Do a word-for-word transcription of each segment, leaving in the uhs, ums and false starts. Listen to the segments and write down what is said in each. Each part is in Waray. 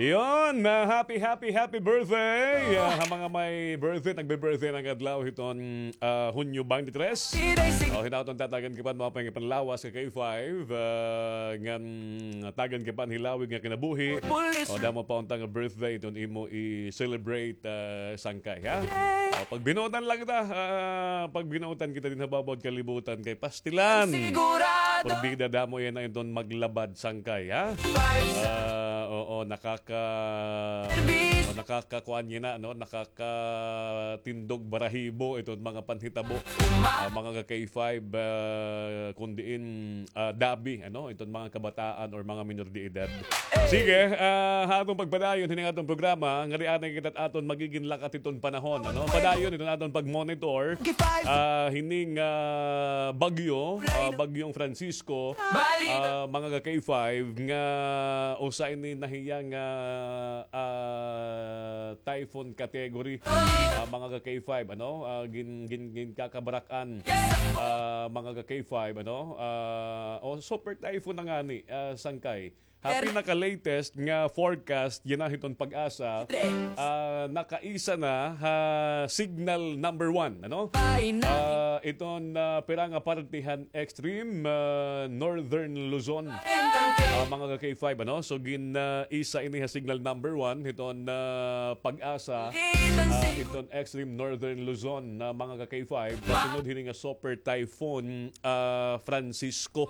Yon, ah, happy, happy, happy birthday! Ah, ha mga may birthday, nagbe-birthday na nga adlaw hiton, ah, Hunyo twenty-three. O, hinaton tatagan ka pa, mga pangipanlawas ka K five, ah, ngan tagan ka pa an hilawig nga kinabuhi. O, damo pa unta nga birthday iton imo i-celebrate, ah, sangkay, ha? O, pagbinuotan la kita, ah, pagbinuotan kita dinhi ha baba hit kalibutan kay pastilan. Porbida damo yana iton maglabad sangkay, ha? Ah, oo, nakaka-, o, nakakakuan yana, no? Nakakatindog barahibo iton mga panhitabo. Ah, mga ka K five, ah, kun diin, ah, dabi, ano, iton mga kabataan or mga minor de edad. Sige, ah, ha aton pagpadayon hini nga aton programa, ngadi anay kita aton magigin lakat hiton panahon, ano? Padayon iton aton pag-monitor, ah, hining, ah, bagyo, ah, bagyong Francisco, ah, mga ka K five, nga usa ini na hiya nga, ah, typhoon category, ah, mga ka K five, ano? Ah, gin-, gin-, ginkakabarak-an, ah, mga ka K five, ano? Ah, o super typhoon na ngani, ah, sangkay. Ha pinaka-latest nga forecast yana hiton PAGASA, ah, nakaisa na ha signal number one, ano? Ah, iton, ah, pira nga parte han extreme, ah, northern Luzon. Ah, mga ka K five, ano? So, gin, ah, isa ini ha signal number one hiton, ah, PAGASA, ah, iton extreme northern Luzon na mga ka K five, kasunod hini nga super typhoon, ah, Francisco.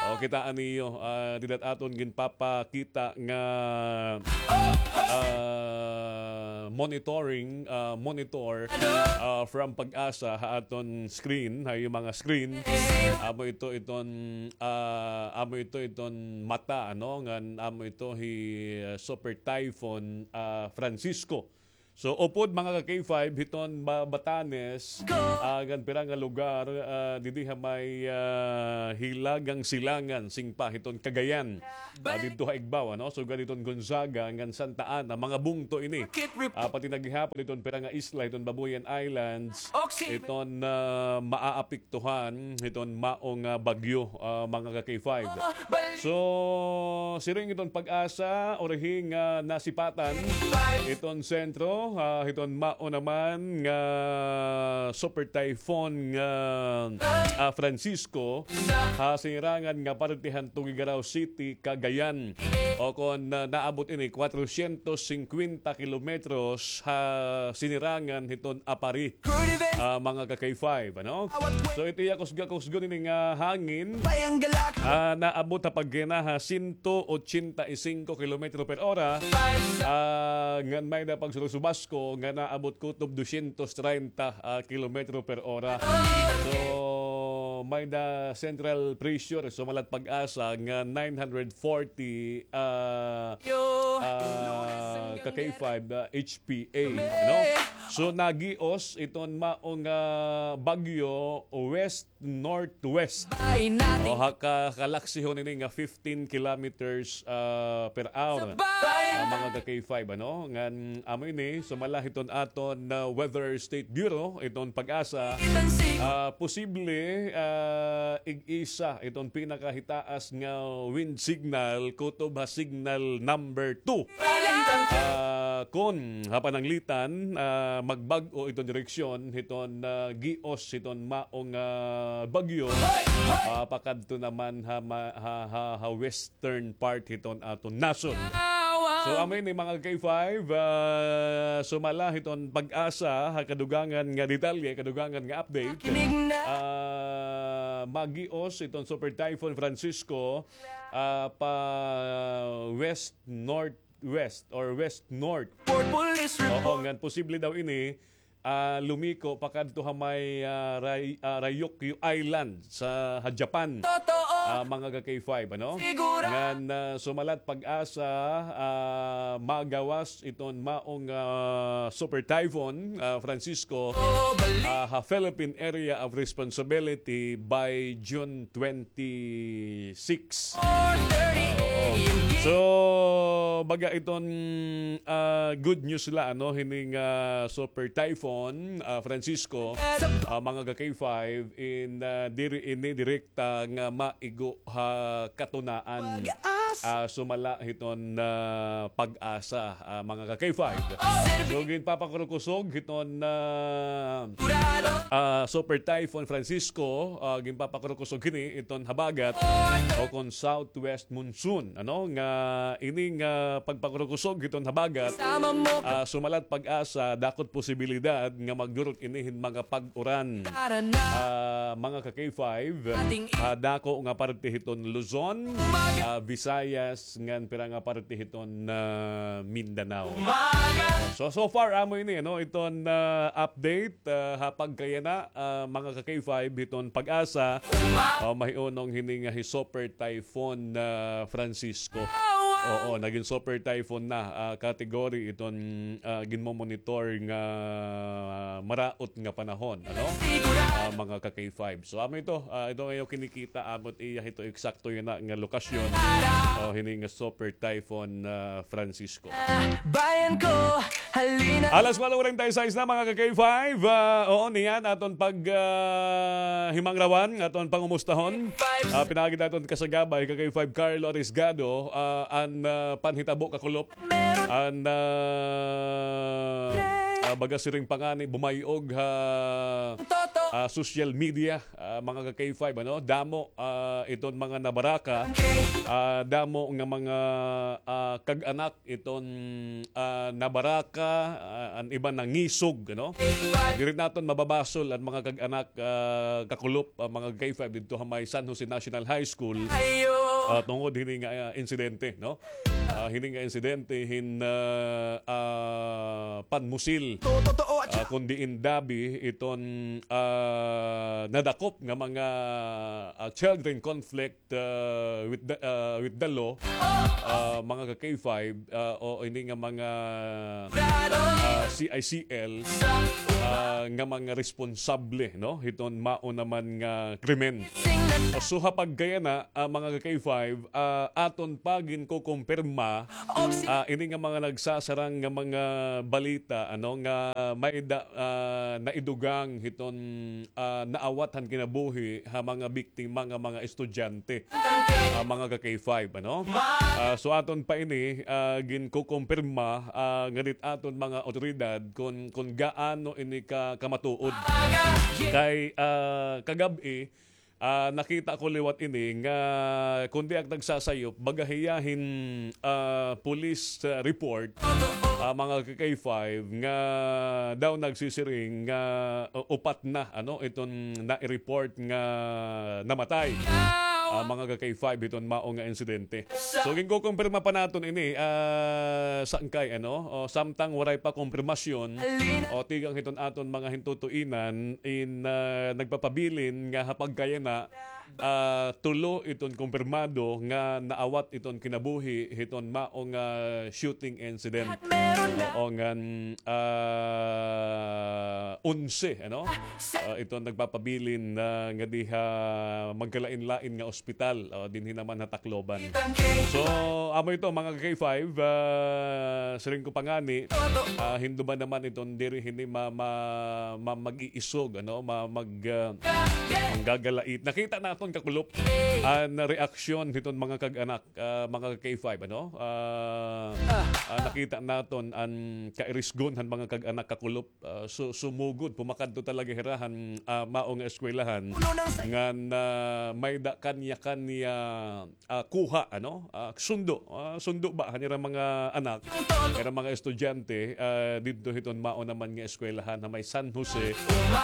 O, kitaa niyo, ah, dida it aton ginpapakita nga, ah, monitoring, ah, monitor, ah, from PAGASA ha aton screen, ha iyo mga screen. Amo ito iton, ah, amo ito iton mata, ano, ngan amo ito hi, ah, Super Typhoon, ah, Francisco. So, upod mga ka K five, hiton Ba-, Batanes, ah, ngan pira nga lugar, ah, didi ha may, ah, hilagang silangan, singpa hiton Cagayan. Ah, didto ha igbaw, ano? Sugad hiton Gonzaga ngan Santa Ana, mga bungto ini. Ah, pati na gihapon hiton pira nga isla, hiton Babuyan Islands, hiton, ah, maaapektuhan hiton mao nga bagyo, ah, mga ka K five. So, siring hiton PAGASA, urihi nga nasipatan hiton sentro, ah, hiton mao naman nga super typhoon nga, ah, Francisco, ha sinirangan nga parte han Tuguegarao City, Cagayan. O kon, ah, naabot ini, kwatrosyentos singkwenta kilometros ha sinirangan hiton Aparri, ah, mga ka K five, ano? So, it iya kusga-kusgon ini nga hangin, ah, naabot ha pagkina ha sento ochenta y singko kilometro per ora, ah, ngan may-ada pagsurusubasko nga naabot kutob dosyentos treinta, ah, kilometro per ora. So, may-ada central pressure, sumalat PAGASA nga nine hundred forty, ah, ah, ka K five, ah, H P A, no? So, nagios iton mao nga bagyo west northwest. O, ha ka-, kalaksihon ini nga fifteen kilometers, ah, per hour. Ah, mga ka K five, ano? Ngan, amo ini, sumala hiton aton, ah, Weather State Bureau, iton PAGASA, ah, posible, ah, ig-isa iton pinakahitaas nga wind signal, kutob ha signal number two. Ah, kon ha pananglitan, ah, magbag-o iton direksyon hiton, ah, gios hiton mao nga bagyo, ah, pakadto naman ha ma-, ha, ha, ha western part hiton aton nasod. So, amo ini mga K five, ah, sumala hiton PAGASA ha kadugangan nga detalye, kadugangan nga update. Ah, magios iton Super Typhoon Francisco, ah, pa west northwest or west north. Oo, ngan posible daw ini, ah, lumiko pakadto ha may, ah, Ray-, ah, Ryukyu Island sa, ha Japan. Ah, mga ka K five, ano? Ngan, ah, sumalat PAGASA, ah, magawas iton maong, ah, Super Typhoon, ah, Francisco, ah, ha Philippine Area of Responsibility by June twenty-six. So, Baga iton, ah, good news la, ano, hini nga Super Typhoon, ah, Francisco, ah, mga ka-K five, in, ah, diri ini direkta nga maigo ha katunaan. Ah, sumala hiton, ah, PAGASA, ah, mga ka-K five. So, ginpapakurukusog hiton, ah, ah, Super Typhoon Francisco, ah, ginpapakurukusog hini iton habagat o kon southwest monsoon, ano, nga ini nga pagpakurukusog hiton habagat, ah, sumalat PAGASA, dakot posibilidad nga magdurot ini hin mga pag-uran. Ah, mga ka-K five, ah, dako nga parte hiton Luzon, ah, Visayas, ngan pira nga parte hiton, ah, Mindanao. So, so far, amo ini, ano, iton, ah, update, ah, ha pagkayana, ah, mga ka-K five, hiton PAGASA, ah, mahiunong hini nga hi Super Typhoon, ah, Francisco. Oo, nagin Super Typhoon na, ah, category iton, ah, ginmomonitor nga maraot nga panahon, ano? Ah, mga ka-K five. So, amo ito, ah, ito nga iyo kinikita, amo it iya hito eksakto yana nga lokasyon. O, hini nga Super Typhoon, ah, Francisco. Bayan ko, halina. Alas kuwatro kuwarenta y seis na, mga ka-K five. Ah, oo, niyan aton pag, ah, himangrawan, aton pangumustahon. Ah, pinaagi naton kasagabay, ka-K five Carlo Arisgado, ah, an, ah, panhitabo kakulop. An, ah, ah, baga siring pa ngani, bumay-og ha, ah, social media, ah, mga ka-K five, ano? Damo, ah, iton mga nabaraka, ah, damo nga mga, ah, kag-anak iton, ah, nabaraka, ah, an iba nangisog, ano? Diri naton mababasol an mga kag-anak, ah, kakulop, ah, mga ka-K five didto ha may San Jose National High School, ah, tungod hini nga, ah, insidente, no? Ah, hini nga insidente hin, ah, ah, panmusil. Ah, kundi in dabi iton, ah, nadakop nga mga, ah, child in conflict, ah, with the, ah, with the law, ah, mga ka-K five, ah, o ini nga mga, ah, C I C L, ah, nga mga responsable, no? Hiton mao naman nga krimen. So, ha pagkayana, ah, mga ka-K five, ah, aton pa ginkukumpirma, ah, ini nga mga nagsasarang nga mga balita, ano, nga may da, ah, naidugang hiton, ah, naawat han kinabuhi ha mga biktima nga mga estudyante, ah, mga ka-K five, ano? Ah, so aton pa ini, ah, ginkukumpirma, ah, nganit aton mga awtoridad kon, kon gaano ini ka, kamatuod. Kay, ah, kagab-i, ah, nakita ko liwat ini nga kon di ak nagsasayop, baga hiya hin, ah, police, ah, report, ah, mga ka-K five, nga daw nagsisiring nga, uh, upat na, ano, iton nai-report nga namatay. Ah, mga ka-K five, hiton mao nga insidente. So, ginkukumpirma pa naton ini, ah, sangkay, ano, o, samtang waray pa kumpirmasyon, o, tikang hiton aton mga hintutuinan, in, ah, nagpapabilin nga ha pagkayana, ah, tulo iton kumpirmado nga naawat iton kinabuhi hiton mao nga shooting incident. Oo, ngan, ah, onse, ano? Ah, iton nagpapabilin na nga diha magkalain-lain nga ospital, o, dinhi naman ha Tacloban. So, amo ito, mga ka-K five, ah, siring ko pa ngani, ah, hinduman naman iton diri hini ma-, ma-, ma-, mag-iisog, ano, ma-, mag-, ah, manggagalait. Nakita naton kakulop an reaksyon hiton mga kag-anak, ah, mga ka-K five, ano? Ah, ah, nakita naton an kairisgon han mga kag-anak kakulop, ah, su-, sumugod, pumakadto talaga hira han, ah, mao nga eskwelahan ngan, ah, may-ada kanya-kanya, ah, kuha, ano? Ah, sundo, ah, sundo ba han ira mga anak, ira mga estudyante, ah, didto hiton mao naman nga eskwelahan ha may San Jose,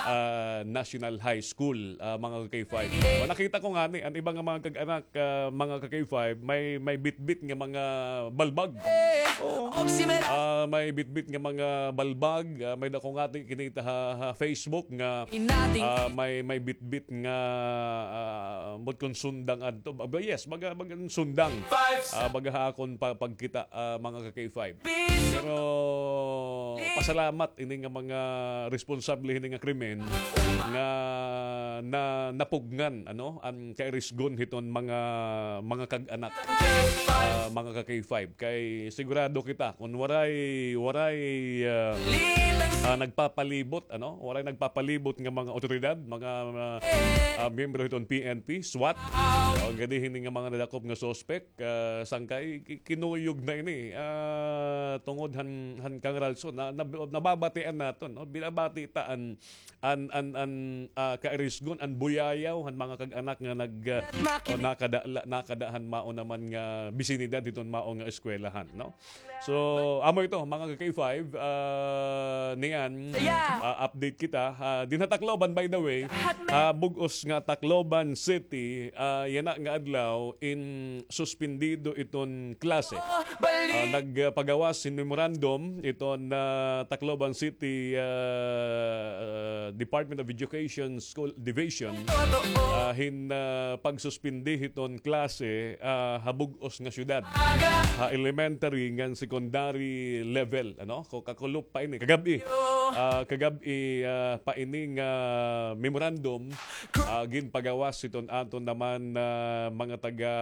ah, National High School, ah, mga ka-K five. O, nakita ko ngani, an iba nga mga kag-anak, ah, mga ka-K five, may, may bitbit nga mga balbag. Oo. Ah, may bitbit nga mga balbag, ah, may-ada ko ngani kinita ha, ha Facebook nga, ah, may, may bitbit nga, ah, ambot kon sundang adto. Ba-, yes, baga, baga sundang. Ah, baga ha akon pa-, pagkita, ah, mga ka-K five. Pero pasalamat ini nga mga responsable hini nga krimen nga na napugngan, ano, an kairisgon hiton mga, mga kag-anak, ah, mga ka-K five. Kay sigurado kita, kon waray, waray, ah, ah, nagpapalibot, ano, waray nagpapalibot nga mga otoridad, mga, ah, ah, miyembro hiton P N P, SWAT, o ngadi hini nga mga nadakop nga suspek, ah, sangkay, ki-, kinuyog na ini, ah, tungod han, han kangralson, na, na, nababatian naton, no? Binabati ta an, an, an, an, ah, kairisgon, an buyayaw han mga kag-anak nga nag, ah, o nakada, la, nakada han mao naman nga bisinidad hiton mao nga eskwelahan, no? So, amo ito, mga ka-K five, ah, niyan, ah, update kita. Ah, dinha Tacloban, by the way, ah, bug-os nga Tacloban City, ah, yana nga adlaw, in suspendido iton klase. Ah, nagpagawas hin memorandum iton, ah, Tacloban City, ah, ah, Department of Education School Division, ah, hin, ah, pagsuspindi hiton klase, ah, ha bug-os nga syudad, ha elementary ngan secondary level, ano? Ko kakulop pa ini, kagab-i. Ah, kagab-i, ah, pa ini nga memorandum, ah, ginpagawas hiton aton naman, ah, mga taga,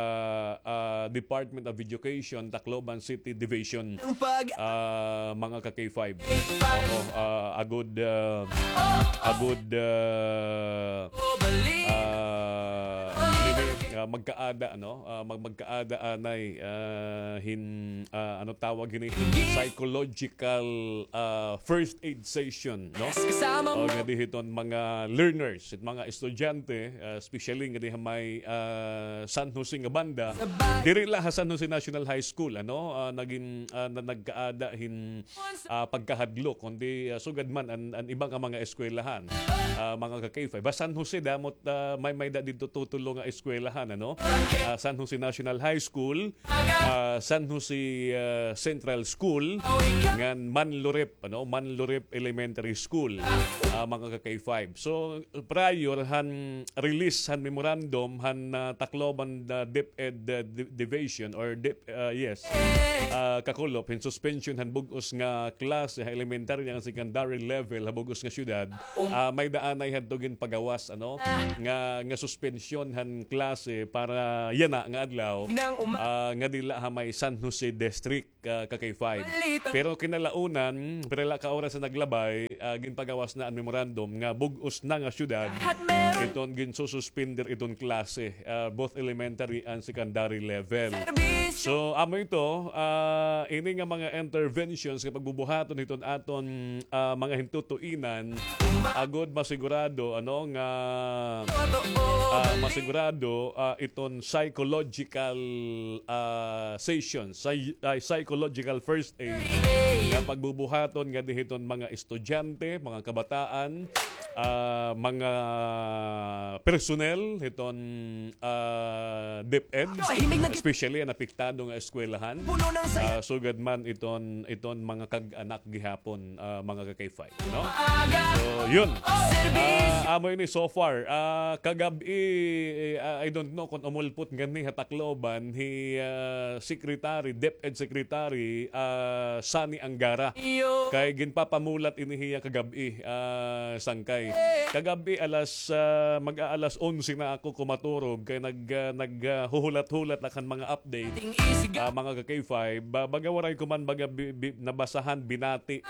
ah, Department of Education, Tacloban City Division, ah, mga ka-K five. Oo, ah, agud, ah, agud, ah, ah, ini, ah, magkaada, ano? Ah, mag-, magkaada anay, ah, hin, ah, ano tawag hini? Psychological, ah, first aid session, no? O ngadi hiton mga learners, hit mga estudyante, ah, especially ngadi ha may, ah, San Jose nga banda. Diri la ha San Jose National High School, ano? Ah, nagin, ah, na, nagkaada hin ah, pagkahadlok, kundi, ah, sugad man an, an iba nga mga eskwelahan, ah, mga ka-K five. Ha San Jose, damo it, ah, may, may-ada didto tutulo nga eskwelahan, ano? Ah, San Jose National High School, ah, San Jose, ah, Central School, ngan Manlurep, ano? Manlurep Elementary School, ah, mga ka-K five. So, prior han release han memorandum han, ah, Tacloban, ah, DepEd, ah, Di-, Division or Dep-, ah, yes, ah, kakulop hin suspension han bug-os nga klase ha elementary ngan secondary level ha bug-os nga syudad, ah, may-ada anay hadto ginpagawas, ano, nga, nga suspension han klase para yana nga adlaw, ah, ngadi la ha may San Jose District ka, ka-K five. Pero kinalaunan, pira la ka oras an naglabay, ah, ginpagawas na an memorandum nga bug-os na nga syudad iton ginsususpender iton klase, ah, both elementary and secondary level. So, amo ito, ah, ini nga mga interventions nga pagbubuhaton hiton aton, ah, mga hintutuinan, agod masigurado, ano, nga, ah, masigurado, ah, iton psychological, ah, session, psy-, ay, psychological first aid nga pagbubuhaton ngadi hiton mga estudyante, mga kabataan, ah, mga personnel hiton, ah, DepEd, especially an apektado nga eskwelahan, ah, sugad man iton, iton mga kag-anak gihapon, ah, mga ka-K five, no? So, yun. Ah, amo ini so far. Ah, kagab-i, eh, ah, I don't know kon umulpot ngani ha Tacloban hi, ah, Secretary, DepEd Secretary, ah, Sonny Angara. Kay ginpapamulat ini hiya kagab-i, ah, sangkay. Kagab-i alas, ah, mag-aalas onse na ako kumaturog kay nag, ah, nag, ah, huhulat-hulat la kan mga update. Ah, mga ka-K five, ba-, baga waray ko man baga bi-, bi-, nabasahan, binati,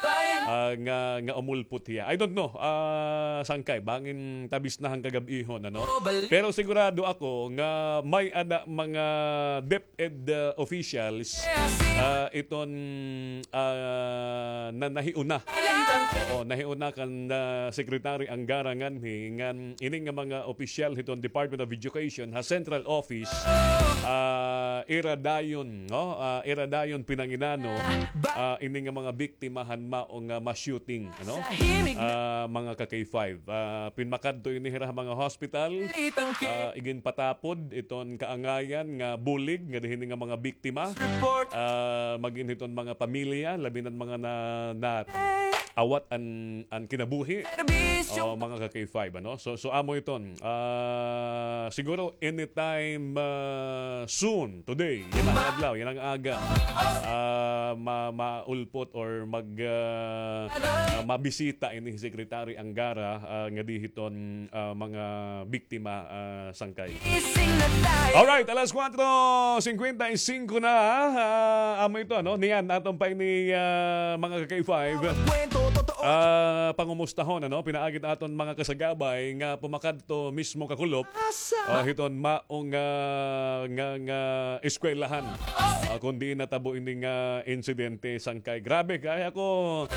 ah, nga, nga umulpot hiya. I don't know, ah, sangkay, bangin tabis na han kagab-ihon, ano? Pero sigurado ako nga may-ada mga DepEd, ah, officials, ah, iton, ah, na nahiuna. Oo, nahiuna kan, ah, Secretary Angara nganhi, ngan ini nga mga opisyal hiton Department of Education ha Central Office, ah, ira dayon, no? Ah, ira dayon pinanginano, ah, ini nga mga biktima han mao nga ma-shooting, ano? Ah, mga ka-K five. Ah, pinmakadto ini hira ha mga hospital. Ah, iginpatapod iton kaangayan nga bulig ngadi hini nga mga biktima. Ah, magin hiton mga pamilya, labi na an mga na, na awat an, an kinabuhi. O, mga ka-K five, ano? So, so amo iton. Ah, siguro anytime, ah, soon, today, yana nga adlaw, yana nga aga, ah, ma-, maulpot or mag, ah, ah, mabisita ini hi Secretary Angara, ah, ngadi hiton, ah, mga biktima, ah, sangkay. Alright, alas kuwatro singkwenta y singko na, ah, amo ito, ano? Niyan, aton pa ini, ah, mga ka-K five. Ah, pangumustahon, ano? Pinaagi it aton mga kasagabay nga pumakadto mismo kakulop, ah, hiton maong, ah, nga, nga eskwelahan. Ah, kundi natabo ini nga insidente sangkay. Grabe, kay ako,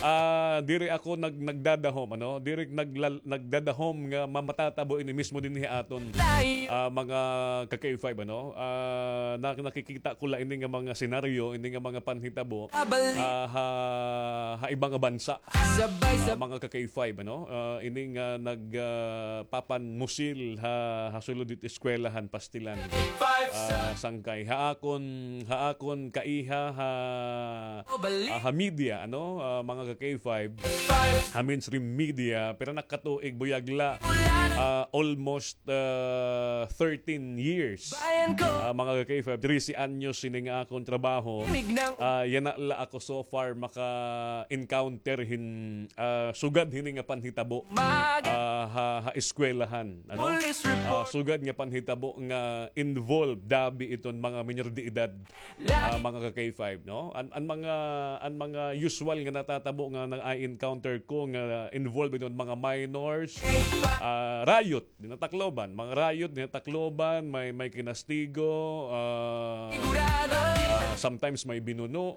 ah, diri ako nag-, nagdadahom, ano? Diri naglal-, nagdadahom nga mamatatabo ini mismo dinhi ha aton, ah, mga ka-K five, ano? Ah, nak-, nakikita ko la ini nga mga senaryo, ini nga mga panhitabo, ah, ha, ha iba nga bansa. Ah, mga ka-K five, ano? Ah, ini nga nag, ah, papanmusil ha, ha sulod hit eskwelahan, pastilan. Ah, sangkay. Ha akon, ha akon kaiha, ha, ah, ha media, ano? Ah, mga ka-K five, ha mainstream media, pira na ka tuig, buyag la, ah, almost, ah, thirteen years. Ah, mga ka-K five, trese anyos ini nga akon trabaho. Ah, yana la ako so far maka-encounter hin, ah, sugad hini nga panhitabo, ah, ha, ha eskwelahan, ano? Ah, sugad nga panhitabo nga involved dabi iton mga minor de edad, ah, mga ka-K five, no? An, an mga, an mga usual nga natatabo nga na-encounter ko nga involved iton mga minors, ah, riot dinhi ha Tacloban, mga riot dinhi ha Tacloban, may, may kinastigo, ah, ah, sometimes may binuno,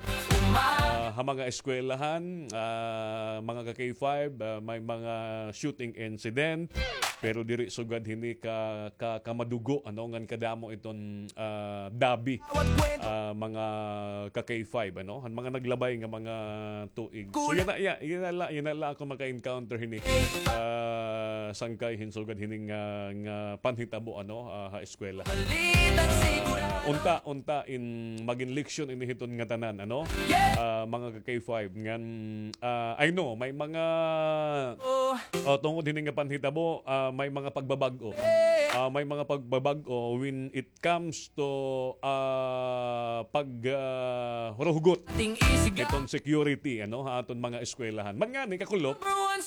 ah, ha mga eskwelahan, ah, mga ka-K five, ah, may mga shooting incident, pero diri sugad hini ka, ka, kamadugo, ano, ngan kadamo iton, ah, dabi, ah, mga ka-K five, ano, han mga naglabay nga mga tuig. So, yana, ya-, yana la, yana la ako maka-encounter hini, ah, sangkay hin sugad hini nga, nga panhitabo, ano, ah, ha eskwela. Ah, unta, unta in magin leksyon ini hiton ngatanan, ano? Ah, mga ka-K five, ngan, ah, I know, may mga, oh, tungod hini nga panhitabo, ah, may mga pagbabag-o. Ah, may mga pagbabag-o when it comes to, ah, pag, ah, huruhugot hiton security, ano, ha aton mga eskwelahan. Man ngani, kakulop,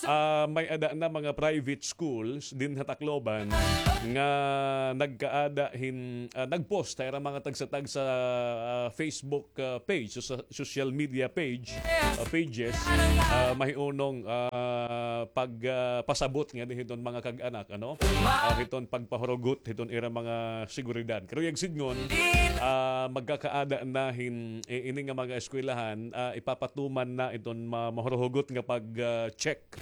ah, may-ada na mga private schools dinhi ha Tacloban nga nagkaada hin, ah, nag-post ha ira mga tagsa-tagsa, ah, Facebook, ah, page, so-, social media page, ah, pages, ah, mahiunong, ah, pag, ah, pasabot ngani hiton mga kag-anak, ano? Ah, hiton pagpahurugot hiton ira mga seguridad. Karuyag sidngon, ah, magkakaada na hin, i-, ini nga mga eskwelahan, ah, ipapatuman na iton ma-, mahuruhugot nga pag, ah, check,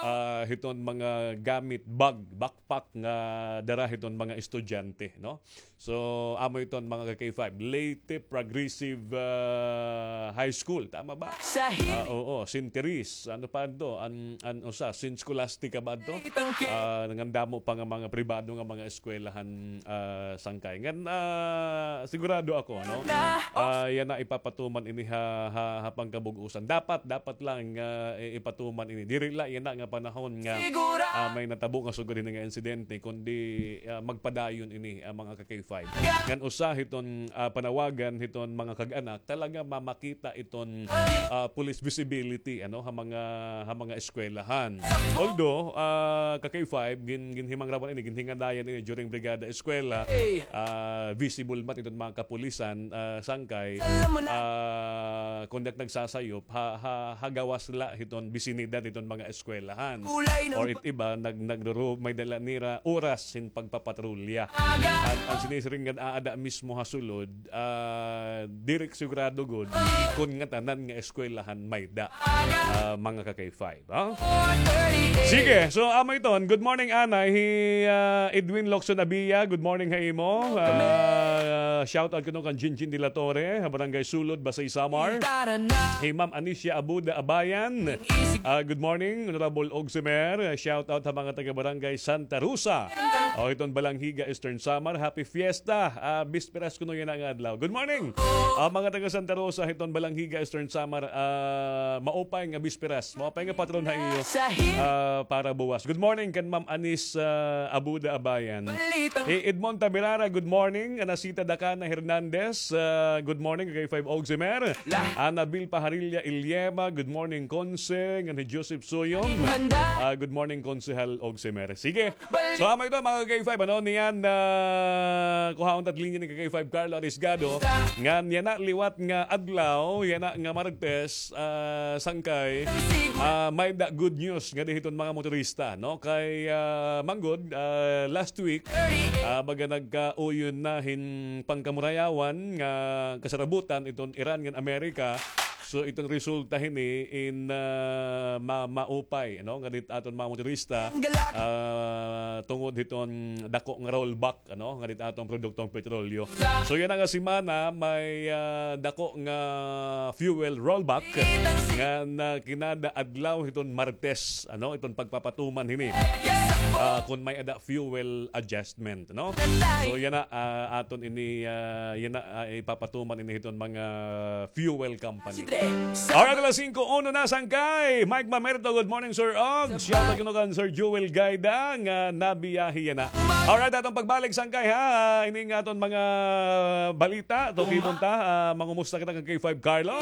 ah, hiton mga gamit, bag, backpack nga dara hiton mga estudyante, no? So, amo iton mga ka-K five, Leyte Progressive, ah, High School, tama ba? Ah, oo, Saint Therese, ano pa adto? An, an usa, Saint Scholastica ba adto? Ah, ngan damo pa nga mga pribado nga mga eskwelahan, ah, sangkay. Ngan, ah, sigurado ako, ano? Ah, yana ipapatuman ini ha, ha, ha pangkabug-usan. Dapat, dapat lang, ah, i-, ipatuman ini. Diri la yana nga panahon nga, ah, may natabo nga sugad hini nga insidente, kundi, ah, magpadayon ini, ah, mga ka-K five. Ngan usa hiton, ah, panawagan hiton mga kag-anak, talaga mamakita iton, ah, police visibility, ano, ha mga, ha mga eskwelahan. Although, ah, ka-K five, gin-, ginhimangrawan ini, ginhingadayan ini during Brigada Eskwela, ah, visible man iton mga kapulisan, ah, sangkay, ah, kon diak nagsasayop, ha, ha, ha gawas la hiton bisinidad hiton mga eskwelahan. Or it iba, nag-, nagro-, may-ada la nira oras hin pagpapatrolya. An, an sinisiring nga aada mismo ha sulod, ah, diri sigurado gud kon ngatanan nga eskwelahan may-ada, ah, mga ka-K five, ha? Sige, so amo iton. Good morning, Anay. Hi, ah, Edwin Locson Abia, good morning ha imo. Ah, shout out kuno kan Jinjin de la Torre, ha Barangay Sulod, Basey, Samar. Hi Ma'am Anicia Abuda Abayan. Ah, good morning, Honorable Ogsimer. Ah, shout out ha mga taga Barangay Santa Rosa. O, hiton Balangiga, Eastern Samar, happy fiesta. Ah, bisperas kuno yana nga adlaw. Good morning. Ah, mga taga Santa Rosa, hiton Balangiga, Eastern Samar, ah, maupay nga bisperas. Maupay nga patron ha iyo, ah, para buwas. Good morning kan Ma'am Anis, ah, Abuda Abayan. Hi Edmond Tabirara, good morning. Anacita Dakana Hernandez, ah, good morning. K five Ogsimer. Annabel Paharilla Ilyema, good morning, Conse. Ngan hi Joseph Suyong. Ah, good morning, Konsehal Ogsimer. Sige. So, amo ito, mga K five, ano, niyan, ah, kuhaon ta it linya ni K five Carlo Arisgado. Ngan yana liwat nga adlaw, yana nga Martes, ah, sangkay, ah, may-ada good news ngadi hiton mga motorista, no? Kay, ah, manggod, ah, last week, ah, baga nagkauyon na hin pangkamurayawan nga kasarabutan iton Iran ngan Amerika. So, iton resulta hini in, ah, ma-, maupay, no, ngadi it aton mga motorista, ah, tungod hiton dako nga rollback, ano, ngadi it aton produktong petrolyo. So, yana nga semana, may, ah, dako nga fuel rollback ngan kinada adlaw hiton Martes, ano, iton pagpapatuman hini. Ah, kon may-ada fuel adjustment, no? So, yana, ah, aton ini, ah, yana, ah, ipapatuman ini hiton mga fuel company. Alright, alas singko uno na sangkay. Mike Mamerto, good morning, Sir Og. Shout out kuno kan Sir Joel Gaida nga nabiyahe yana. Alright, aton pagbalik sangkay, ha. Ini nga aton mga balita. Tukibon ta, ah, mangumusta kita kan K five Carlo.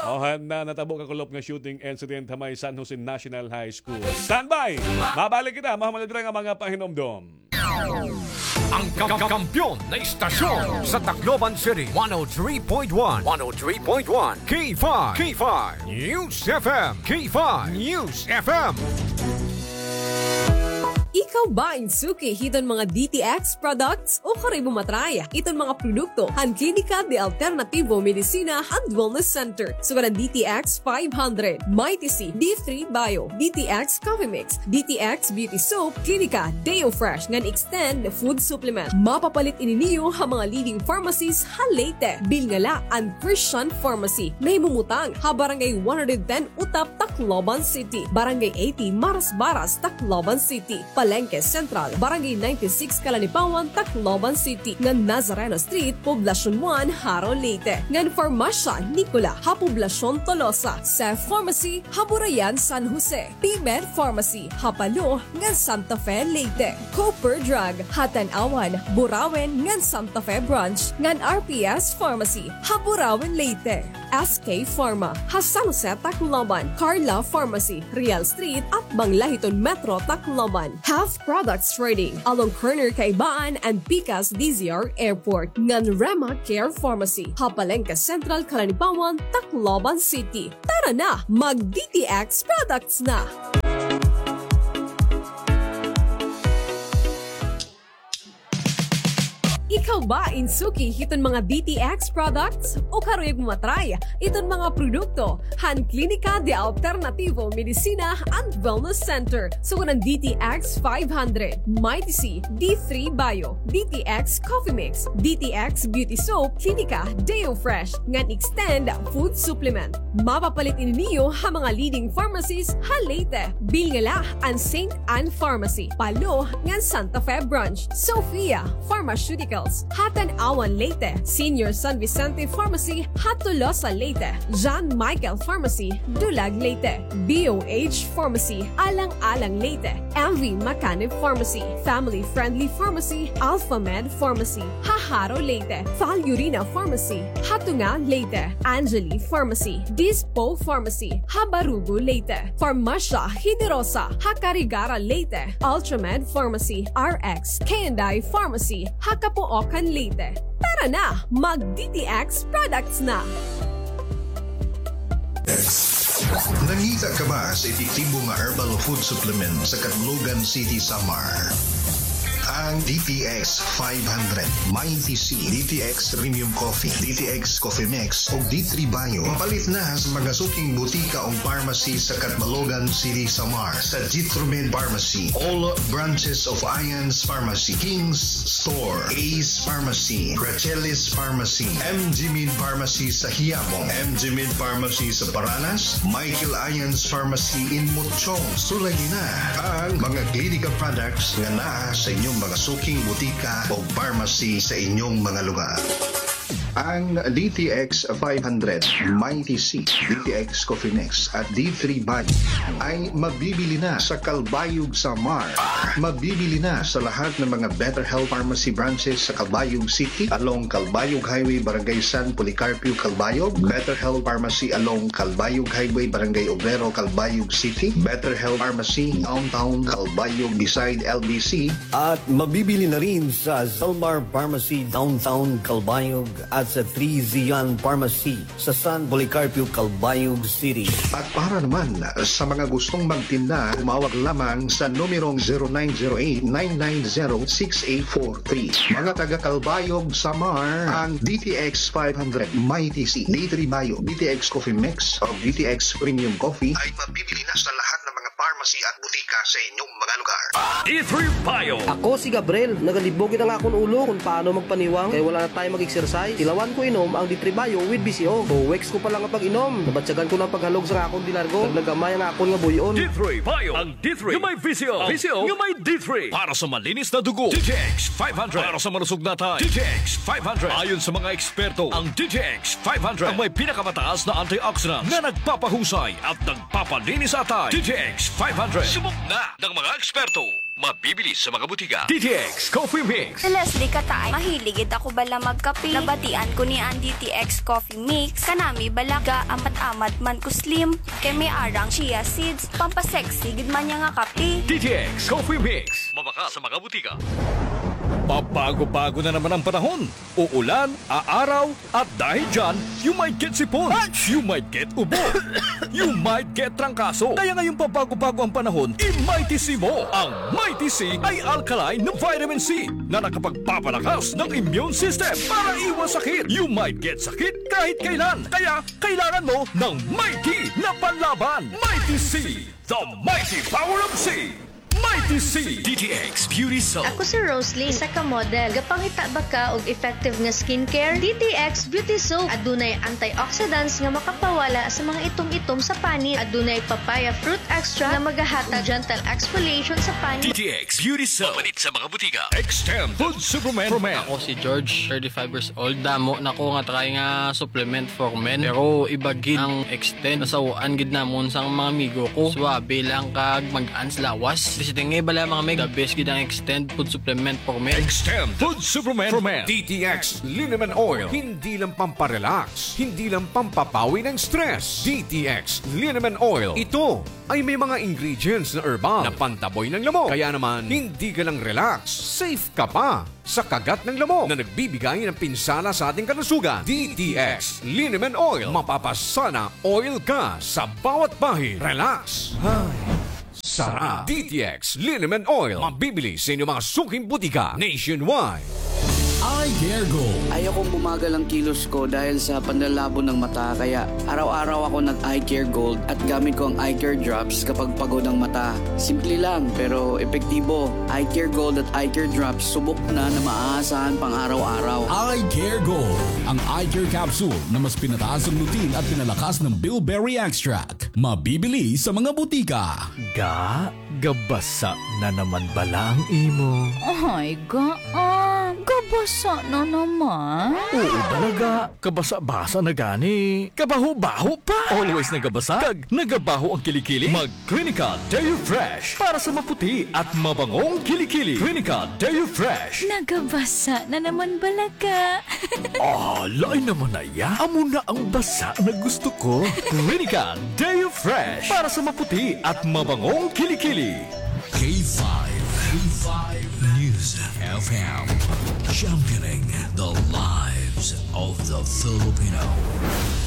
O han, ah, natabo kakulop nga shooting incident ha may San Jose National High School. Standby! Mabalik kita, mahuman dira nga mga pahinumdom. Ang ka-, ka-, kampiyon na istasyon sa Tacloban City, one oh three point one. One oh three point one. K five. K five News F M. K five News F M. Ikaw ba in suki hiton mga D T X products? O karoy mo matry iton mga produkto han Klinika de Alternativo Medicina and Wellness Center, sugad han D T X five hundred, Mighty C, D three Bio, D T X Coffee Mix, D T X Beauty Soap, Klinika Deo Fresh, ngan Extend Food Supplement. Mapapalit ini niyo ha mga leading pharmacies ha Leyte. Bilngala and Christian Pharmacy, nahimumutang ha Barangay one hundred ten Utap, Tacloban City, Barangay eighty Marasbaras, Tacloban City, Palengke Central, Barangay ninety-six Calanipawan, Tacloban City, ngan Nazareno Street, Poblacion one, Jaro, Leyte, ngan Farmasya Nicola ha Poblacion Tolosa, Safe Pharmacy ha Burayan, San Jose, P-Med Pharmacy ha Palo ngan Santa Fe, Leyte, Cooper Drug ha Tanauan, Burauen ngan Santa Fe Branch, ngan R P S Pharmacy ha Burauen, Leyte. S K Pharma ha San Jose, Tacloban, Carla Pharmacy, Real Street, atbang la hiton Metro Tacloban, Health Products Trading, along corner Kaibaan and Pikas D Z R Airport, ngan Rema Care Pharmacy ha Palengke Central, Calanipawan, Tacloban City. Tara na, mag-D T X products na! Ikaw ba in suki hiton mga D T X products? O karuyag mo matry iton mga produkto han Klinika de Alternativo Medicina and Wellness Center, sugad han D T X five hundred, Mighty C, D three Bio, D T X Coffee Mix, D T X Beauty Soap, Klinika Deo Fresh, ngan Extend Food Supplement. Mapapalit ini niyo ha mga leading pharmacies ha Leyte, Bilngala and Saint Ann Pharmacy, Palo ngan Santa Fe Branch, Sophia Pharmaceuticals ha Tanauan, Leyte, Senior San Vicente Pharmacy ha Tolosa, Leyte, John Michael Pharmacy, Dulag, Leyte, B O H Pharmacy, Alang-alang, Leyte, M V Macanib Pharmacy, Family Friendly Pharmacy, Alpha Med Pharmacy ha Jaro, Leyte, Valurina Pharmacy ha Tunga, Leyte, Angeli Pharmacy, Dispo Pharmacy ha Barugo, Leyte, Farmasya Generosa ha Carigara, Leyte, Ultramed Pharmacy, R X K and I Pharmacy ha Capoocan, Leyte. Tara na, mag-D T X products na! Nangita ka ba sa epektibo nga herbal food supplement sa Catbalogan City, Samar? Ang D T X five hundred, Mighty C, D T X Premium Coffee, D T X Coffee Mix, ug D three Bio. Mapalit na sa mga suking butika ug pharmacy sa Catbalogan City, Samar, sa Jitromed Pharmacy, all branches of Ions Pharmacy, King's Store, Ace Pharmacy, Gracelis Pharmacy, M G Med Pharmacy sa Quiapo, M G Med Pharmacy sa Paranas, Michael Ions Pharmacy in Mochong. Sulagi na ang mga Clinica products nga naa sa inyong mga suking butika o pharmacy sa inyong mga lugar. Ang D T X five hundred, Mighty C, D T X Coffee Mix at D three Bio ay mabibili na sa Calbayog, Samar. Mabibili na sa lahat ng mga Better Health Pharmacy branches sa Calbayog City, along Calbayog Highway, Barangay San Policarpio, Calbayog. Better Health Pharmacy along Calbayog Highway, Barangay Obrero, Calbayog City. Better Health Pharmacy Downtown Calbayog beside L B C. At mabibili na rin sa Zalmar Pharmacy Downtown Calbayog at sa Three Zion Pharmacy sa San Policarpio, Calbayog City. At para naman sa mga gustong magtinda, tumawag lamang sa numerong zero nine zero eight, nine nine zero, six eight four three. Mga taga Calbayog, Samar, ang D T X five hundred, Mighty C, D three Bio, D T X Coffee Mix, o D T X Premium Coffee ay mabibili na sa lahat ng mga pharmacy at butika sa inyong mga lugar. D three Bio. Ako si Gabriel. Nagalibog gid an akon ulo kon paano magpaniwang kay wala na time mag-exercise. Tilawan ko inom ang D three Bio with V C O. Two weeks ko pa la nga pag-inom, nabatyagan ko na an paghalog sa akon dilargo. Naglagamay ang akon nga buy-on. D three Bio. Ang D three nga may V C O. V C O nga may D three. Para sa malinis na dugo, D T X five hundred. Para sa malusog na atay, D T X five hundred. Ayon sa mga eksperto, ang D T X five hundred ang may pinakamataas na antioxidants na nagpapahusay at nagpapalinis sa atay. D T X five hundred. Subok na ng mga eksperto. Mabibili sa mga butika. D T X Coffee Mix. Si Leslie Kataay, mahilig gid ako bala magkape. Nabatian ko niya an D T X Coffee Mix. Kanami bala ga-amat-amat man ko slim. Kay may arang chia seeds. Pampasexy gid man niya nga kape. D T X Coffee Mix. Mabaka sa mga butika. Pabago-bago na naman ang panahon. Uulan, aaraw, at dahil dyan, you might get sipon. You might get ubo. You might get trangkaso. Kaya ngayong pabago-bago ang panahon, i-Mighty C mo. Ang Mighty C ay alkaline na vitamin C na nakapagpapalakas ng immune system para iwas sakit. You might get sakit kahit kailan. Kaya kailangan mo ng Mighty na panlaban. Mighty C, the mighty power of C. Mighty C. D T X Beauty Soap. Ako si Roslyn, isa ka model. Gapangita ba ka og effective nga skincare? D T X Beauty Soap. Adunay antioxidants nga makapawala sa mga itom-itom sa panit. Adunay papaya fruit extract nga magahatag gentle exfoliation sa panit. D T X Beauty Soap. Mapalit sa mga butika. Extend Food Supplement for Men. Ako si George, thirty-five years old. Damo na ko nga try nga supplement for men. Pero iba gid ang extend. Nasaw-an gid namon sa mga amigo ko. Suwabe lang kag mag-ans lawas. Bisi tingi bala mga mig. The best gid ang extend food supplement for men. Extend Food Supplement for Men. D T X Liniment Oil. Hindi lang pamparelax, hindi lang pampapawi ng stress. D T X Liniment Oil. Ito ay may mga ingredients na herbal na pantaboy ng lamok. Kaya naman, hindi ka lang relax, safe ka pa sa kagat ng lamok na nagbibigay ng pinsala sa ating kalusugan. D T X Liniment Oil. Mapapasana oil ka sa bawat bahid. Relax. Ay, sarap. D T X Liniment Oil. Mabibili sa inyong mga suking butika nationwide. Eye Care Gold. Ayokong bumagal ang kilos ko dahil sa panlalabo ng mata, kaya araw-araw ako nag-Eye Care Gold at gamit ko ang Eye Care Drops kapag pagod ang mata. Simple lang, pero epektibo. Eye Care Gold at Eye Care Drops, subok na na maaasahan pang araw-araw. Eye Care Gold, ang eye care capsule na mas pinataas ang lutein at pinalakas ng bilberry extract. Mabibili sa mga butika. Ga, gabasa na naman bala ang imo? Ay, ga, ah, gabasa na naman? Oo, bala ga. Kabasa-basa na gani. Kabaho-baho pa. Always nagabasa. Kag nagabaho ang kilikili. Mag Clinica Deo Fresh para sa maputi at mabangong kilikili. Clinica Deo Fresh. Nagabasa na naman bala ga. Ah, lain naman na iya. Amo na ang basa na gusto ko. Clinica Deo Fresh para sa maputi at mabangong kilikili. K five, K five News F M, championing the lives of the Filipino.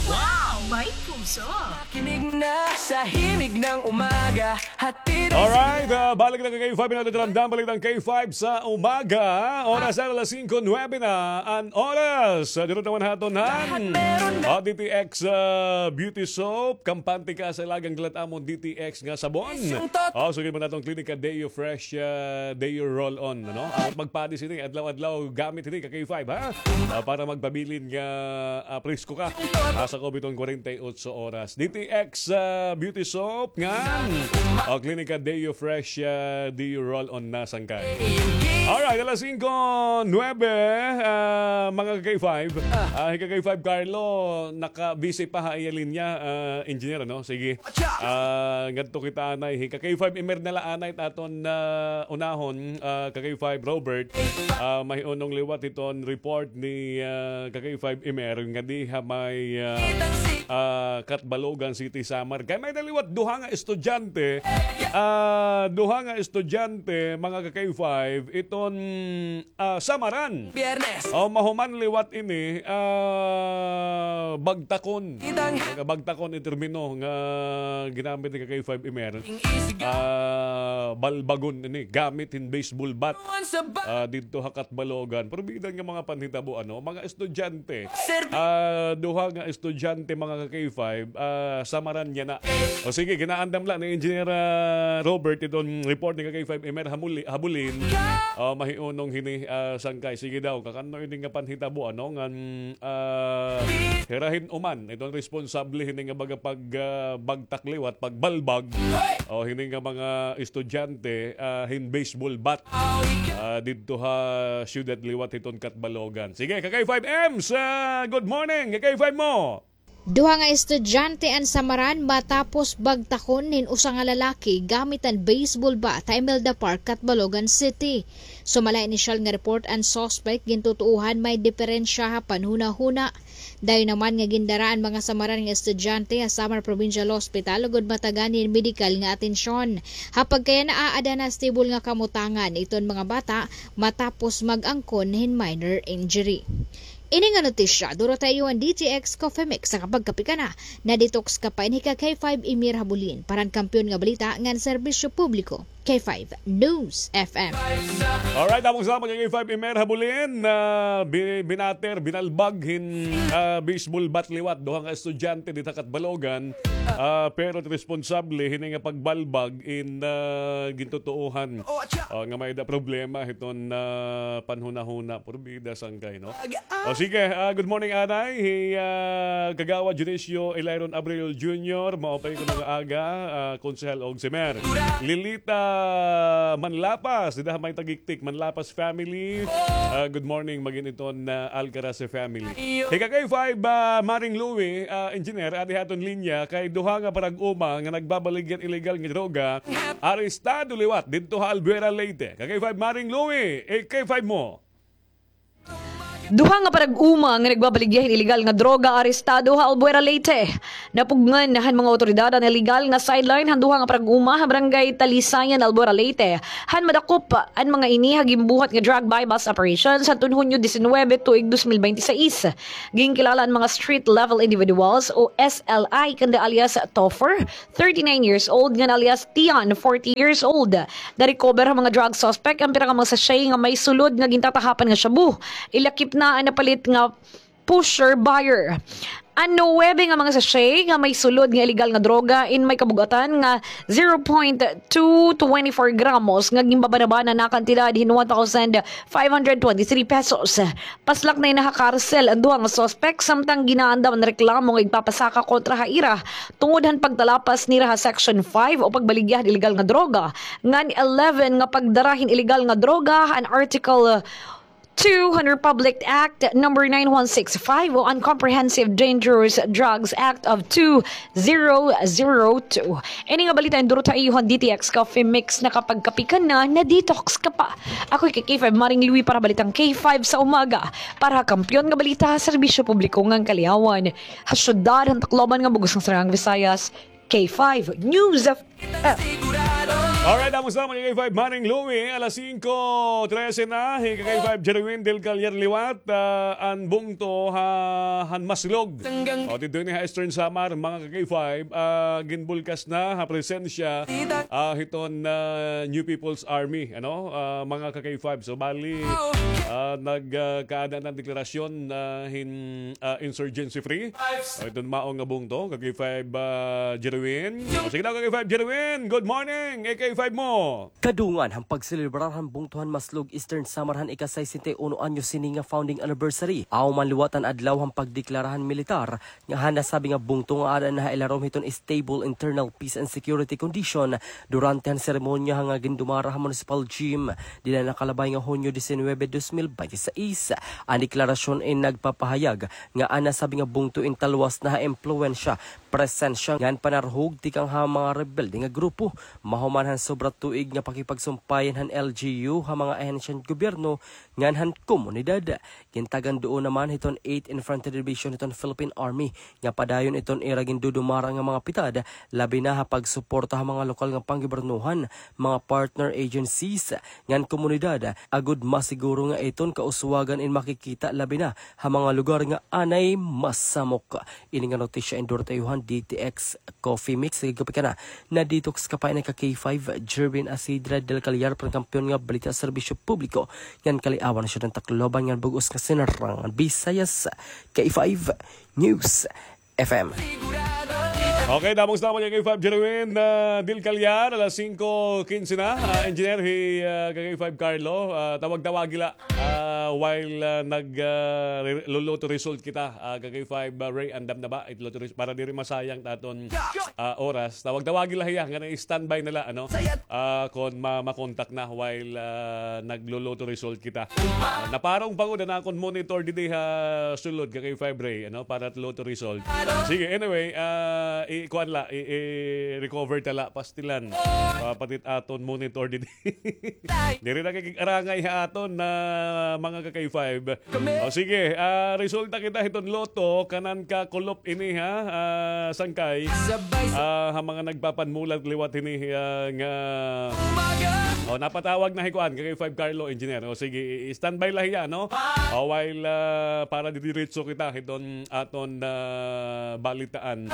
Wow! May puso! Makinig na sa Himig ng Umaga, hatid. Alright, ah, balik na ka K five, minuto na lang, balik ang K five sa umaga. Oras na alas singko nuwebe na an oras. Ah, dito naman haton han. Lahat meron na. O, D T X, ah, Beauty Soap, kampante ka sa lagang glat amon D T X nga sabon. Yes, yung tot- O, sugad man aton Clinica Deo Fresh, ah, Deo Roll-On, ano? Amot magpadi sini, adlaw-adlaw gamit hini ka K five, ha? Ah, para magpabilin nga, ah, presko ka. Asa ko biton kwarenta y ocho sa oras. D T X, ah, Beauty Soap ngan, o, Klinika Deo Fresh, ah, Deo Roll-On na sangkay. Alright, alas singko nuwebe, ah, mga ka-K five. Ah, hi ka-K five Carlo, naka-busy pa ha iya linya, ah, engineer, ano? Sige. Ah, ngadto kita anay. Hi ka-K five Emer na la anay it aton, ah, unahon, ah, ka-K five Robert. Ah, mahiunong liwat hiton report ni, ah, ka-K five Emer nga diha may, ah, ah, Catbalogan City, Samar. Kay may-ada liwat duha nga estudyante, ah, duha nga estudyante, mga ka-K five, iton, ah, Samaran. Biyernes. O, mahuman liwat ini, ah, bagtakon. Mga bagtakon it termino nga ginamit ni ka-K five Emer. Ah, balbagon ini, gamit hin baseball bat. Ah, didto ha Catbalogan. Pero bida nga mga panhitabo, ano, mga estudyante. Ah, duha nga estudyante, mga ka-K five, ah, Samaran yana. O sige, ginaandam la ni Engineer, ah, Robert iton report ni ka-K five Emer Hamuli-, Habulin. Ah, mahiunong hini, ah, sangkay. Sige daw, kakan-o ini nga panhitabo, ano, ngan, ah, hira hin uman, iton responsable hini nga baga pag, ah, bagtak liwat, pagbalbag. O hini nga mga estudyante, ah, hin baseball bat. Ah, didto ha siyudad liwat hiton Catbalogan. Sige, ka-K five Ems, ah, good morning. Ka-K five mo. Duha nga estudyante an Samaran matapos bagtakon hin usa nga lalaki gamit an baseball bat ha Imelda Park, Catbalogan City. Sumala inisyal nga report an suspect, gintutuohan may diperensya ha panhunahuna. Dayon naman nga gindara an mga Samaran nga estudyante ha Samar Provincial Hospital ugod matagan hin medikal nga atensyon. Ha pagkayana, aada na stable nga kamutangan iton mga bata matapos mag-angkon hin minor injury. Ini nga notisya, duro ta iyo an D T X Coffee Mix sa kapagkape ka na. Na-detox ka pa, ini ka K five Emir Habulin para han kampiyon nga balita ngan serbisyo publiko. K five News F M. Alright, among salamat kay K five Emer Habulin, ah, bi-, binater, binalbag hin, ah, baseball bat liwat duha nga estudyante didto ha Catbalogan, ah, pero responsable hini nga pagbalbag in, ah, gintutuohan, ah, nga may-ada problema hiton, ah, panhunahuna, porbida sangkay, no? O sige, ah, good morning, anay. Hi, ah, Kagawad Dionisio Ilayron Abril Junior, maupay kuno nga aga, ah, Konsehal og si Mer Lilita Manlapas, dida ha may Tagiktik, Manlapas family. Ah, good morning, magin iton, ah, Alcaraz family. Hi ka K five, ah, Maring Louie, ah, engineer, adi ha aton linya, kay duha nga parag-uma nga nagbabaligya hin illegal nga droga, arestado liwat didto ha Albuera, Leyte. Ka K five Maring Louie, eh, K five mo. Duha nga parag-uma nga nagbabaligya hin illegal nga droga arestado ha Albuera, Leyte. Napugngan han mga awtoridad an illegal nga sideline han duha nga parag-uma ha Barangay Talisayan, Albuera, Leyte, han madakop an mga ini ha ginbuhat nga drug buy-bust operation sadton Hunyo disinwebe tuig dos mil bente seis. Ginkilala an mga street level individuals o S L I kanda alias Topher, thirty-nine years old, ngan alias Tian, forty years old. Na-recover han mga drug suspect an pira nga mga sachet nga may sulod nga gintatahapan nga shabu. Ilakip na an napalit nga pusher buyer. An nuwebe nga mga sachet nga may sulod nga illegal nga droga in may kabug-atan nga zero point two twenty four gramos nga ginbabanabana na kantidad hin one thousand five hundred twenty-three pesos. Paslak na ini ha karsel an duha nga suspek, samtang ginaandam an reklamo nga igpapasaka kontra ha ira tungod han pagtalapas nira ha Section five o pagbaligya hin illegal nga droga, ngan eleven nga pagdara hin illegal nga droga, an Article two han Republic Act number nine one six five o an Comprehensive Dangerous Drugs Act of two zero zero two. Ini nga balita in duro ha iyo han D T X Coffee Mix, nakapagkape ka na, na-detox ka pa. Ako hi K five Maring Louie para Balitang K five sa Umaga. Para ha kampiyon nga balita, serbisyo publiko ngan kaliyawan. Ha syudad han Tacloban ngan bug-os nga Saraang Visayas, K five News F M. Alright, amo sa mga K five Maring Louie, alas singko trese na, hi K five Jerwin Del Callar liwat, ah, an bungto ha, han Maslog. O, didto ini ha Eastern Samar, mga ka K five, ah, ginbulkas na ha presensya, ah, hiton, ah, New People's Army, ano, ah, mga ka K five. So, bali, ah, nag, ah, kaada na deklarasyon, ah, hin, ah, insurgency free. O, iton mao nga bungto, ka K five, ah, Jerwin. O, sige daw, ka K five Jerwin. Good morning, A K Five mo. Kadungan han pagselebrar han bungto han Maslog, Eastern Samar han ika-sesenta y uno anyos hini nga founding anniversary, aw man liwat an adlaw han pagdeklara han militar nga han nasabi nga bungto nga aada na ha ilarom hiton stable internal peace and security condition durante han seremonya nga gindumara ha Municipal Gym dida nakalabay nga Hunyo diecinueve, dos mil binte y seis. An deklarasyon in nagpapahayag nga an nasabi nga bungto in talwas na ha impluwensya, presensya ngan panarhog tikang ha mga rebelde nga grupo. Mahuman han sobra tuig nga pakipagsumpayan han L G U ha mga ahensya han gobyerno ngan han komunidad. Gintagan duon naman hiton Eighth Infantry Division hiton Philippine Army nga padayon iton ira gindudumara nga mga pitad, labi na ha pagsuporta ha mga lokal nga panggobyernohan, mga partner agencies, ngan komunidad, agod masiguro nga iton kauswagan in makikita labi na ha mga lugar nga anay masamok. Ini nga notisya endorso han D T X Coffee Mix. Sige, kape ka na. Na-detox ka pa ini ka K five, Jervin Asidra del Callar, pangkampiyon nga balita, serbisyo publiko, ngan kaliawan na siya ng Tacloban ngan bug-os nga Sinirangan Visayas, K five News F M. Okay, damo nga salamat kay K five Jerwin, ah, Dil Callar, alas singko kinse na. Ah, engineer, hi, ah, kay K five Carlo, ah, tawag-tawagi la, ah, while, ah, nag, ah, re-, luluto result kita, ah, kay K five, ah, Ray, andam na ba? It luto res-, para diri masayang ta aton, ah, oras. Tawag-tawagi la hiya, nga na-standby na la, ano? Ah, kon ma-, makontak na while, ah, nagluluto result kita. Ah, naparong pa gud an akon monitor didi ha sulod, kay K five Ray, ano, para it luto result. Sige, anyway, ah, i-, kuan la, i-, i-recover ta la, pastilan. Ah, pati it aton monitor didi. Diri na kay arangay ha aton na mga ka-K five. O sige, ah, resulta kita hiton lotto, kanan ka kulop ini ha, ah, sangkay. Ah, ha mga nagpapanmulat liwat hini, ah, nga, o, napatawag na hi kuan, ka-K five Carlo, engineer. O sige, i-, i-standby la hiya, no? O, while, ah, para didiretso kita hiton aton, ah, balitaan.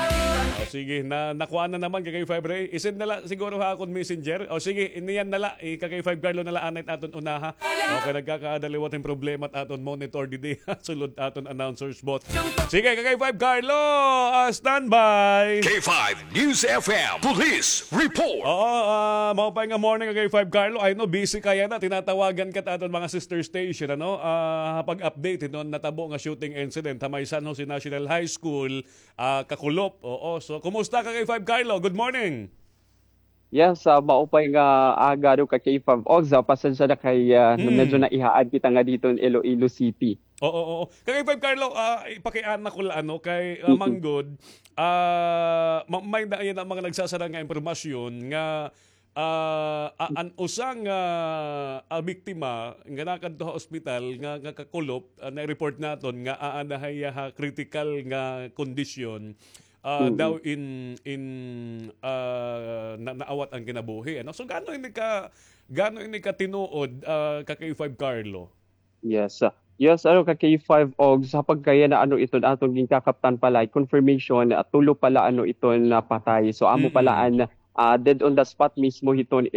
O sige, na, nakuha na naman, ka-K five Ray. I-send na la siguro ha akon messenger. O sige, iniyan na la, i-, ka-K five Carlo na la anay aton unaha. Okay, nagkakaada liwat hin problema it aton monitor didi. Sulod aton announcer's booth. Sige, ka-K five Carlo, ah, standby. K five News F M Police Report. Oo, ah, maupay nga morning, ka-K five Carlo. I know, busy ka yana. Tinatawagan ka it aton mga sister station, ano? Ah, pag-update hiton natabo nga shooting incident ha may San Jose National High School, ah, kakulop. Oo, so, kumusta, ka-K five Carlo? Good morning. Yes, ah, maupay nga aga, ano, ka-K five Ogs. Ah, pasensya na kay, ah, medyo naihaad kita nga didto in Iloilo City. Oo, oo. Ka-K five Carlo, ah, ipakiana ko la, ano, kay, ah, manggod, ah, ma-, may na, yana mga nagsasarang nga impormasyon nga, ah, a-, an usa nga, ah, biktima nga nakadto ha ospital nga, nga kakulop, ah, na-report naton nga aada hiya ha critical nga kondisyon. Ah, daw in, in, ah, na, naawat an kinabuhi, ano? So, gaano ini ka, gaano ini ka tinuod, ah, ka-K five Carlo? Yes, ah, yes, ano, ka-K five Ogs, ha pagkayana, ano, iton aton ginkakaptan pala, confirmation, ah, tulo pala, ano, iton napatay. So, amo pala an, ah, dead on the spot mismo hiton